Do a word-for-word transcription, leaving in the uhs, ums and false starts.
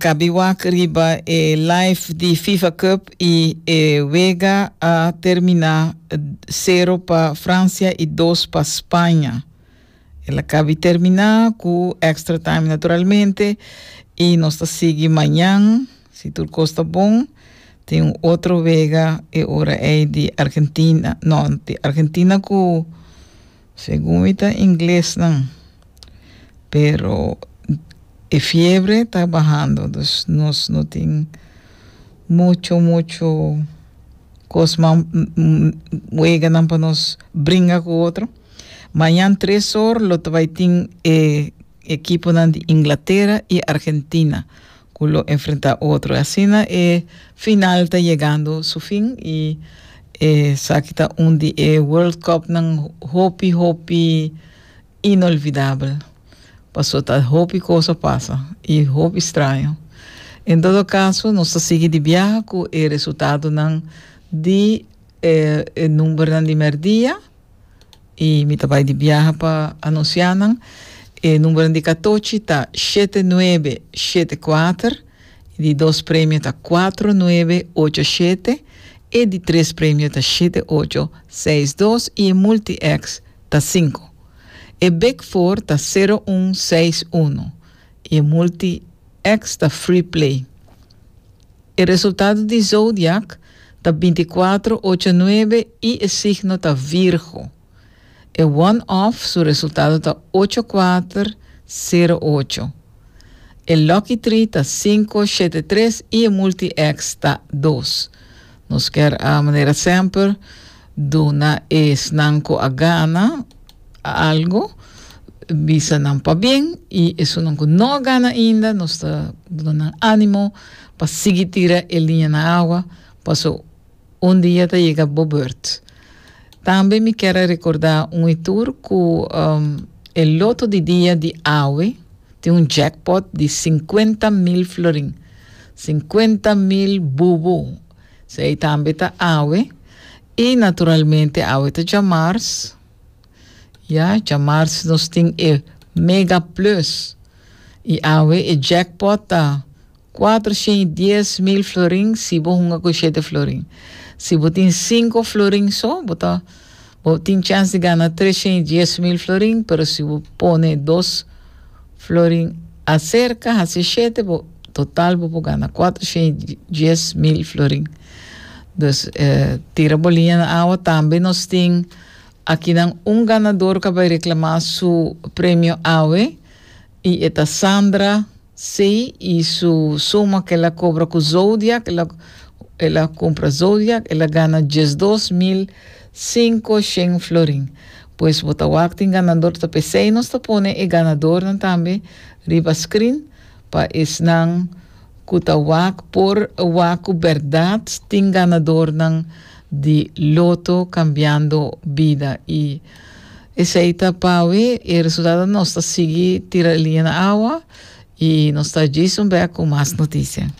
Kaba di wak riba e live di FIFA Cup i e wega a terminá sero pa Fransia i dos pa Spaña. El a kaba di terminá ku extra time, naturalmente, i nos ta sigui mañan, si tur kos ta bon, tin un otro wega e ora ei di Argentina, no, di Argentina ku segun ta ingles no, pero e fiebre ta bahando, dus nos no tin mucho mucho kos weganan pa nos bringa ku otro. Mañan tres or lo bai tin eh, ekipo di Inglatera i Argentina ku lo enfrentá otro. Asina e final ta yegando su fin i eh, esaki ta un di e World Cup nan hopi hopi inolvidabel. Pasó ta hopi kos a pasa i hopi straño. En todo kaso, nos ta sigui di biaha ku e resultadonan di eh, e numbernan di merdia i mi tambe di biaha pa anunsiá nan. E number di katochi ta shete nuebe shete kuater, di dos premio ta kuater nuebe ocho shete i di tres premio ta shete ocho seis dos i multi-X ta sinku. E Big Four ta sero un seis un i multi-X ta free play. E resultado di Zodiac ta bintikuater, ocho, nuebe i e signo ta Virgo. E one-off, su resultado ta ocho kuater sero ocho. E Lucky Three ta sinku shete tres i e multi-X ta dos. Nos ke, a manera semper, duna esnan ku a gana algu, bisa nan pabien i esnan ku no a gana ainda, nos ta duna ánimo pa sigui tira e liña na awa, pasó un dia ta yega bo beurt. Tambe mi ke rekordá un i tur ku um, e loto di dia di awe tin un jackpot di sinkuenta mil florin. sinkuenta mil bubu. Esei tambe ta awe. I naturalmente awe ta djamars. Ja, djamars nos tin e Mega Plus. I awe e jackpot ta kuatershen i dies mil florin si bo hunga ku shete florin. Si bo tin sinku florin so, bo ta bo tin chèns di gana treshen i dies mil florin, pero si bo pone dos florin aserka, hasi shete, bo total bo gana kuatershen i dies mil florin. Dus eh, tira bo liña na awa. Tambe nos tin akinan un ganadó ku a bai reklamá su premio awe i ta Sandra C i su suma ku el a kobra ku Zodiac, el a, el a kumpra Zodiac, el a gana diesdos mil sinkoshen florin. Pues bo ta wak tin ganadó, ta p'esei nos ta pone e ganadónan tambe riba screen pa esnan ku ta wak por wak ku berdat tin ganadónan di Loto Kambiando Bida. I esei ta pa awe e resultado. Nos ta sigui tira liña na awa i nos ta djis un bèk ku mas notisia.